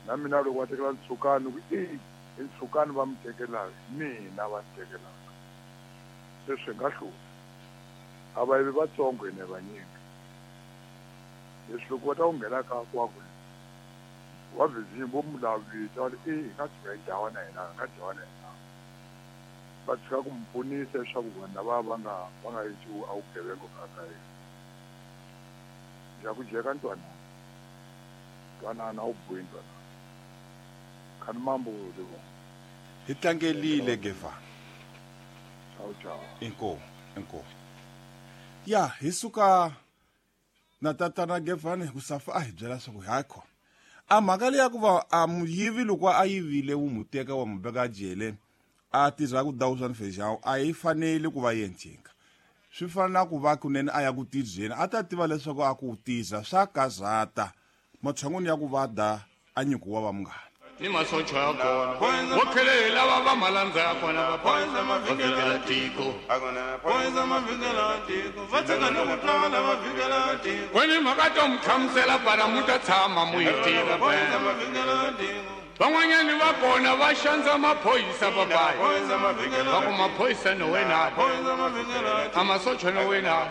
Na mina loko va tekela Ntshukani ku i i Ntshukani va mi tekelaka mina va ni tekelaka. Se swi nga hlula. A va yivi vatsongo hina hi vanyingi. Leswi loko va ta ku nghena ka kwaku va vizinyo vo mu lavita va i hi nga tshuka hi dlawa na hina hi nga dlawa na hina. Va tshika ku mu pfunisa leswaku vanhu lava va nga va nga endli a vugevenga ka ka yena. Dya ku dyeka ntwanano. Ntwanano a wu bohi ntwanano. Khani mambo Livongo. Hi tlangelile Gevani. Ciao ciao. Inkomu, inkomu. Ya, hi suka na tatana Gevani ku safa a hi byela swa ku hayi khona. A mhaka leya ku va a muyivi loko a yivile wu mu teka wa mu veka jele a tirha ku dawusani fejawu a yi faneli ku va yencinga. Swi fana na ku va kunene a ya ku tirheni a ta tiva leswaku a ku tirha swa karhata matshan'wini ya ku va da a nyikiwa va munghana. Ni masocha ya kona vo tlhele hi lava va malandza ya kona va va tiko kweni mhaka to mi hlamusela para mu ta tshama mu yi tiva van'wanyani va kona va xandza maphorisa papayi va ku maphorisa no wena a masocha no wena.